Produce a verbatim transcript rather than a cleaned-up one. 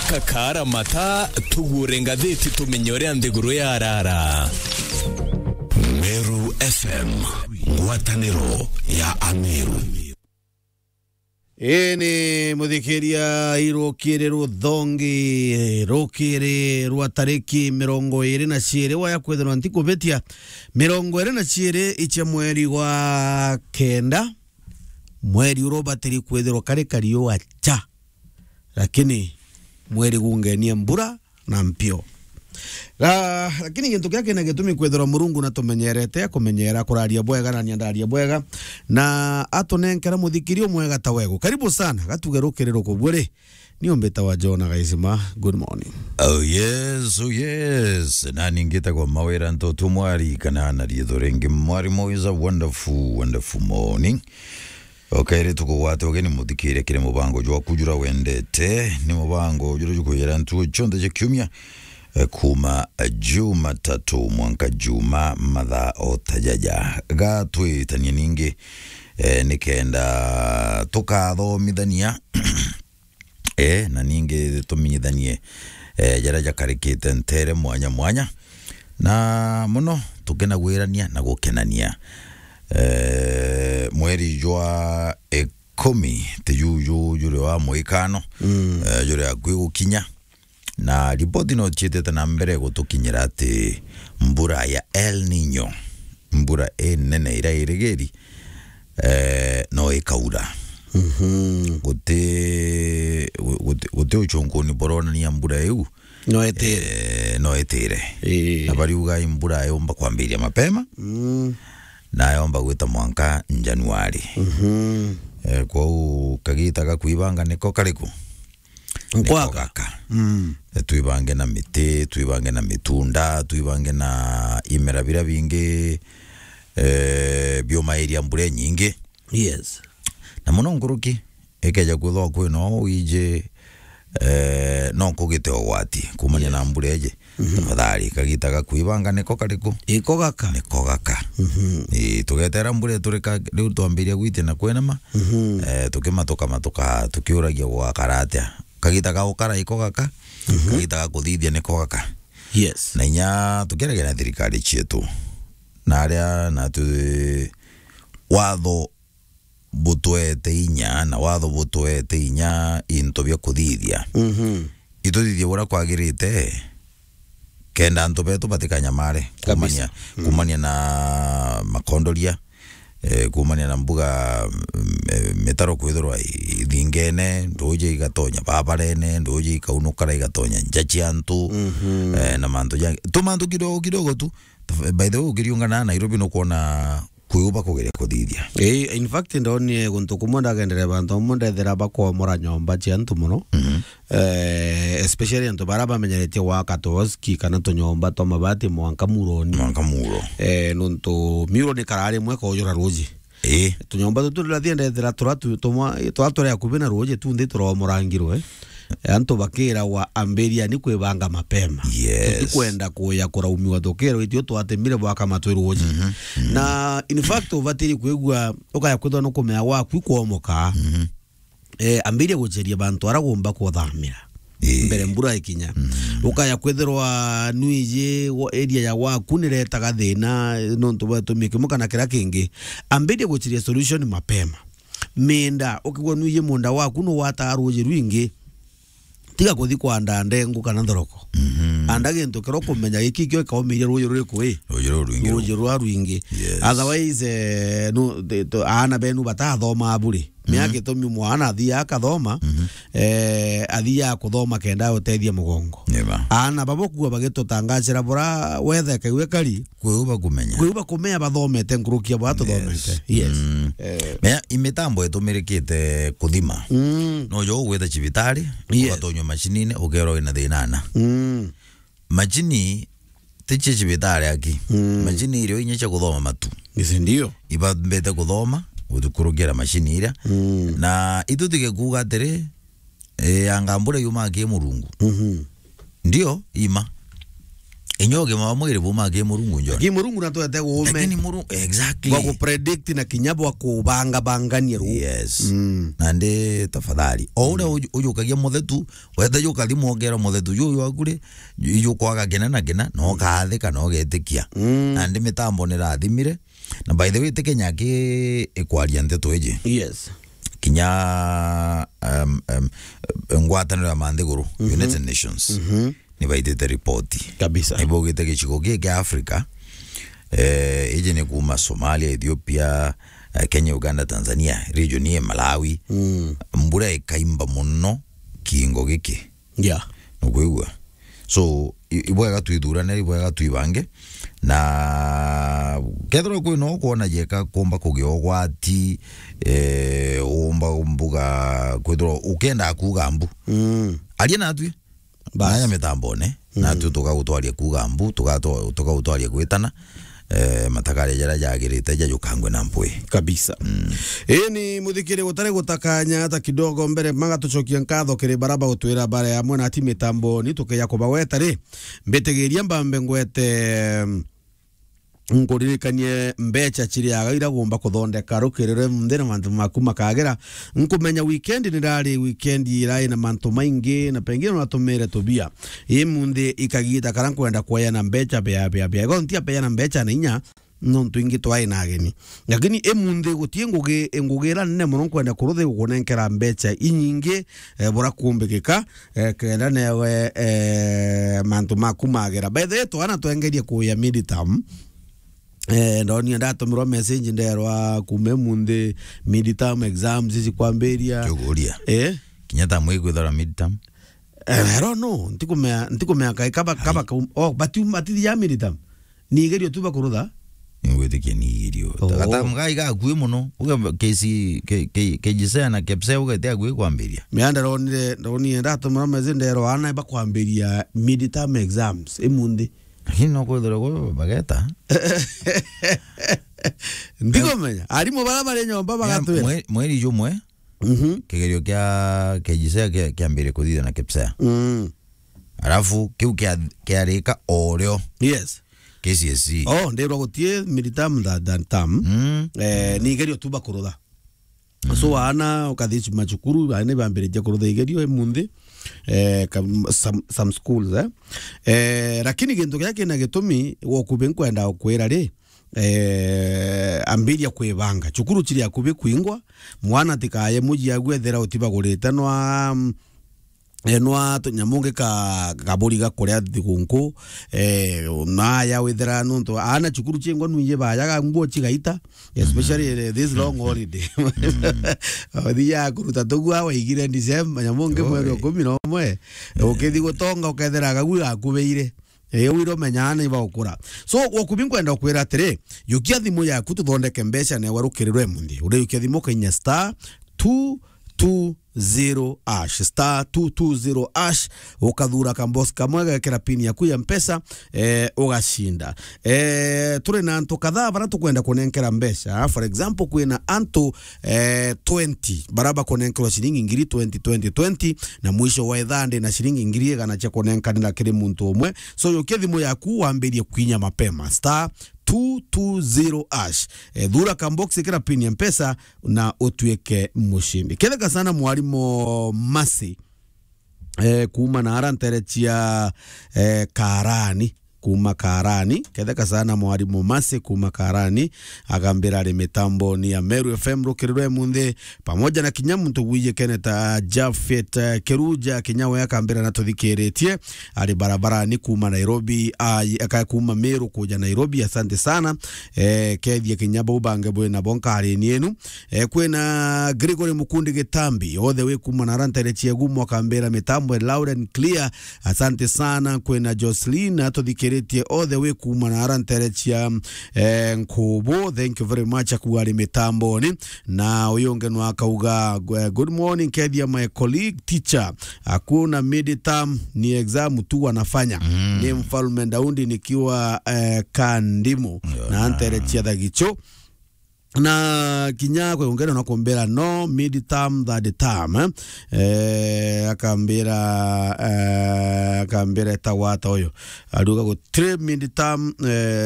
Kakara mata, tugure ngathiti tumenye uria nthiguru yarara. Meru F M, ngwataniro ya Ameru. Ii ni muthikiria, irukiri ruthongi, rukiri rwa tariki mirongo iri na ciiri, waya kwithirwa nti kubitia, mirongo iri na ciiri icia mweri wa kenda, mweri uria ubatiri kwithirwa kari kariua cha, lakini mweri gungenie mbura na mpio. Ga-, lakini gintu kiria kina gitumi kwithirwa Murungu natumenyerete, akumenyera kuraria bwega na niandaria bwega, na atunenkera muthikiri umwega ta wegu. Karibu sana, gatuge rukiri ruku bwiri. Ni umbita wa Jona Gaisima. Good morning. Oh yes, oh yes. Na ningitagwa Mawira Ntoto Mwari, kana na riitho ringi Mwari Mo is a wonderful, wonderful morning. Okairi tukugwate ugeni muthikire kiri mubango jwaku jura wendete. Ni mubango jura jukwira ntuo cionthe cia kiumia, eh, kuma, eh, Jumatatu mwanka Juma mathaa o ta jaja. Ga twitanie ningi, eh, nikenda tukathomithania, eh, na ningi tumenyithanie, eh, jaria jakarikite ntere mwanya mwanya. Na muno tukenagwirania na gukenania. Eh, mweri jwa ikumi ti juju juri wa mwikano, mm, eh, juri akui gukinya. Na ripoti no ciitite na mbere gutukinyira ati mbura ya El Nino, mbura inene iria irigiri, eh, no ikaura. Mhm. Guti, guti, guti uchunguni buronania mbura iu no itire. Eh, no itire. Ii. Na bariuga mbura yomba kwambiria mapema, mm, na yomba gwita mwanka Januari. Mhm. Eh, kwou kagita ga kwibanga niko kariku? Niko gaka. Gaka. Mm. Eh, twibange na miti, twibange na mitunda, twibange na imera biria bingi, eh, biumairia mbura inyingi. Yes. Na muno nkuruki, ikeja kwithwa kwina uu wiji, eh, no kugite ugwati kumania na, yes, mbura iji. Mhm. Tafadhali, kagita ga kwibanga niko kariku? Iko gaka. Niko gaka. Mhm. Ii, tugetera mbura iturika, riu twambiria gwitia na kwenama, mhm, eh, tukimatuka matuka, tukiuragia gugakara atia. Kagita ga gukara iko gaka, mhm, kagita ga kuthithia niko gaka. Yes. Na inya tukiragia na thirikari cietu, na aria natu watho butwete inya, na watho butwete inya into bia kuthithia. Mhm. Ituthithie uria kwagirite, kenda antu betu batikanyamare. Kabisa. Kumania, mm, kumania na makondoria, eh, kumania na mbuga, mm, eh, mitaro kwithirwa ithingene, nduuji igatonya babarene, nduuji ikaunukara igatonya nja cia antu, mhm, eh, na mantu jangi. Tumantu kidogo kidogo tu. By the way, ukiriungana na Nairobi nukwona kwiuba kugeria kuthithia. Eh, in fact, ndonire guntu kumwe ndagendere bantu bamwe ndethira bakomora nyomba cia antu muno. Mhm. Eh, especially antu bara bamenyeretie gwaka tuoski kana tunyomba twa mabati mwanka muroni. Mwanka muro. Eh, nontu muro ni karari mwe kojura ruji. Ii. Tunyomba tutu riria thiendethera tura tu-, tumwa-, tura turi akubi na ruuji tu nthi turomorangirwe. Antu bakiragwa, "Ambiriani kwibanga mapema." Yes. Tutikwenda kuya kuraumiwa tukirwa itio twatemire bwaka matwi ruuji. Mhm. Mhm. Na in fact, ubatiri kwigua, ukaya kwithwa nukumenya gwaku ikwomoka. Mhm. Eh, ambiria guceria bantu ara gumba kuthamira. Ii. Mbere mbura ikinya. Mm. Ukaya kwithirwa nwiji wa-, area ya gwaku niretaga thina, nontu bwa gitumi kimwe kana kiria kingi. Ambiria guceria solution mapema. Minda, ukigwa nwiji munda waku nugwataa ruuji rwingi, tiga kuthi kwanda ndengu kana nthoroko. Mhm. Anda gintu kiria ukumenya giki kio ikaumiria ruuji ruriku ii? Ruuji ruru rwingi. Ruuji ruru. Rwa rwingi. Yes. Otherwise, eh, nu-, the-, to-, aana benu batathoma buri. Mea, mhm, gitumi mwana athiaga akathoma, mhm, eh, athiaga kuthoma kenda utethia mugongo. Ni ma. Aana babo kuo bagitutangacira bura weather ikaiwe kari. Kwiu bakumenya. Kwiu bakumenya bathomete nkuruki ya bura tuthomete. Yes. Yes. Mm. Eh. Mea, imitambo itumirikite kuthima. Mm. No jo ugwita cibitari, yes, ugatonywa macinine, ukerwa wina thina ana. Mm. Macini ti cia cibitari aki. Mm. Macini irio inya cia kuthoma matu. Isi ndio. Ibambite kuthoma, gutukurukira macini iria. Mm. Na itutige kuuga atiri, eh, anga mbura yumaa ki Murungu. Mhm. Ndio, ima. Inya ugima wa mwiri buma ki Murungu, John. Ki Murungu na twete uume. Lakini Murungu, exactly. Bwa ku predict na kinya bwa kubanga bangania ru. Yes. Mm. Na ndi tafadhali. O uria uju-, ujukagia muthetu, wete jukathimwa ukera muthetu juju waku ri, ijukwaga kina na kina, na ukaathika na ugetikia. Mm. Na ndi mitambo ni rathimire. Na by the way, ti Kenya ki ikwaria nteto iji. Yes. Kinya, um, um, ngwataniro ya manthiguru, Mhm. United Nations, Mhm. ni baitite ripoti. Kabisa. Ni baugite gicigo giki kia Africa, eh, iji ni kuma Somalia, Ethiopia, eh, Kenya, Uganda, Tanzania, region ii Malawi, Mm. mbura ikaimba muno kiingo giki. Yeah. Nukwigua? So, i-, ibwega twithurane, ibwega twibange. Na kethirwa kwina ukwona jeka kumba kugia ugwati, eh, umba mbuga kwithirwa ukenda kuuga mbu. Mm. Aria natwi. Bas. Nanya mitambone, Mm. natwi tukagutwaria kuuga mbu, tugato-, tukagutwaria gwitana, eh, matakaria jaria jagirite jajukangwe na mpwi. Kabisa. Mm. Ii ni muthikiri gutari gutakanya hata kidogo mbere, magatucokia nkatho kiri bara bagutwira bara ya mwana ati mitamboni tukeja kubagweta ri, mbitigiria mbambe ngwete, mm, nkuririkanie mbecha ciriaga iria gumba kuthondeka rukiri rwe munthi na mantu maku makagira. Nkumenya weekend nirari weekend irai na mantu maingi na pengine natumire tubia. Ii munthi ikagita kara nkwenda kweana mbecha bia, bia, bia. Ego ntia peana mbecha na inya, nontu ingi twai na ageni. Lakini imunthi guti ngugi, ngugi ira nene muno nkwenda kuruthi gukunenkera mbecha inyingi, eh, bura kumbikika, eh, kenda newe, eh, mantu maku magera. By the way, twana twengerie kuya midterm. Eh, ndoni ndatumirwa message nderwa kuma imunthi midterm exams ici kwambiria. Kiuguria. Eh? Kinya ta mwi kwithara midterm. Eh, I don't know. Ntikumea, ntikumea kai kaba, kaba Ai. kaum-, oh, but you, but ya midterm. Ni igerio tu bakurutha? Ningwitikia ni igerio. Oh. Gatamu gai gakui muno. Uga K C, K-, K-, K J S E A na K P S E A uga ite akui kwambiria. Mea ndaronire, ndonire ndatumira message nderwa ana bakwambiria midterm exams imunthi. Lakini no kwithirwa gwe bageta. Ndikumenya. Arimu bara bari nyomba Ya, bagatwira. mwe-, mweri jumwe, Mhm. kigerio kia K J S E A kia, kiambire kuthithia na K P S E A. Mm. Alafu kiu kia, kiarika o rio. Yes. K C S E. Oh, ndirwa gutie midterm than, than term. Mm. Eh, ni igerio tu bakurutha. Mm. So, ana ukathi macukuru, ana bambiritie kurutha igerio imunthi. Eh, kam-, some, some schools, eh. Eh, lakini gintu kiria kina gitumi, wokubi nkwenda ukwira ri, eh, ambiria kwibanga. Cukuru ciri akubi kwingwa, mwana tikaye muji agwethera utibagurite nwa, mm, eh, nwa tunyamu ngi ka, kaburi ga kuria thigunku, eh, naya withira nuntu ana cukuru cingwa nwingi bayaga nguo cigaita, especially, mm, eh, this long holiday. Othi ya kuruta tugua waigire December, nyamu ngi mweri wa Oi. kumi na umwe, eh, ukithi gutonga ukethira gagu gakubeire. Eh, wira umenyaa ni baukura. So, wokubi nkwenda ukwira atiri, yukia thimu yaku tuthondeke mbeca newa rukirirwe munthi. Uriyukia thimu ukainya star two two zero hash, star two two zero hash, ukathura kambox kamwe gagekira pin yaku ya Mpesa, eh, ugacinda. Eh, turi na antu kadhaa bara tukwenda kunenkera mbeca. For example, kwina antu eh, twenty, bara bakunenkerwa ciringi ngiri twenty, twenty, twenty, na mwisho wa ithaa ndi na ciringi ngiri igana cia kunenkanira kiri muntu umwe. So, yukia thimu yaku wambirie kwinya mapema. Star two two zero hash. Eh, thura kambox, ikira pin ya Mpesa na utuike mushindi. Ketheka sana mwarimu Masi. Eh, kuma na ara ntere cia, eh, Karani, kuma Karani. Ketheka sana mwarimu Masi kuma Karani, agambira ari mitamboni ya Meru F M rukiri rwe munthi, pamoja na kinya muntu gwije Kenneth, ah, Japhet, eh, Keruja, kinya we akambira na tuthikiritie, ari barabarani kuma Nairobi, ah, aka kuma Meru kuja Nairobi. Asante sana. Eh, kethia kinya bau bange bwina bo nkarini enu. Eh, kwina Gregory Mukundi Gitambi, all the way kuma na ara ntere cia Gumo, akambira mitambo e loud and clear. Asante sana. Kwina Jocelyn, atuthikiritie all the way kuma na ara ntere cia, eh, Nkubu. Thank you very much, akuga ari mitamboni. Na uyu ungi nwa akauga, eh, "Good morning, kethia my colleague teacher. Hakuna midterm, ni exam tu wanafanya." Mm. Ni Mfalme Daudi nikiwa, eh, Kandimu. Yo, na na. Ntere cia Thagichu. Na kinya kwe ungene no kumbira no mid term, third term, eh? Eh, akambira, eh, akambira etagwa ata uyu? Aruga gutiri mid term, eh,